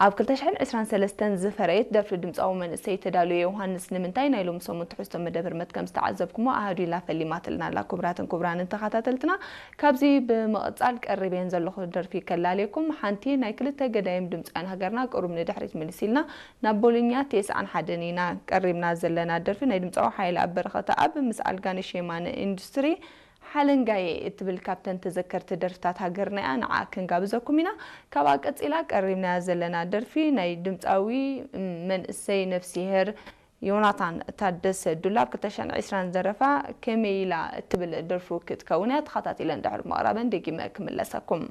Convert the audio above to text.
ኣብ ክልተ ሽሕን ዕስራን ሰለስተን ዝፈረየት ደርፊ ድምፃዊ መንእሰይ ተዳልዮ ዮሃንስ ንምንታይ ናይ ሎሚ ሰሙን ትሕዝቶ መደብ ህርመት ከም ዝተዓዘብኩሞ ኣሃዱ ኢላ ፈሊማትልና ኣላ። ክቡራትን ክቡራንን ተኸታተልትና፣ ካብዚ ብምቕፃል ቀሪበን ዘለኹ ደርፊ ከላልየኩም። ሓንቲ ናይ ክልተ ገዳይም ድምፃውያን ሃገርና ቅሩብ ንድሕሪት ምልስ ኢልና ናብ ቦሎኛ ተስዓን ሓደን ኢና ቀሪብና ዘለና ደርፊ ናይ ድምፃዊ ሓይለ ኣብ በረኸተ ኣብ ምስ ኣልጋነሽ የማነ ኢንዱስትሪ ሓለንጋየ እትብል ካብተን ተዘከርቲ ደርፍታት ሃገርና እያ። ንዓ ክንጋብዘኩም ኢና። ካብኣ ቀፂላ ቀሪብናያ ዘለና ደርፊ ናይ ድምፃዊ መንእሰይ ነፍሲሄር ዮናታን ታደሰ ዱላብ ክልተ ሽሕን ዕስራን ዘረፋ ከመይ ኢላ እትብል ደርፉ ክትከውን እያ። ተኸታቲለን ድሕሪ ምቕራበን ደጊመ ክምለሰኩም።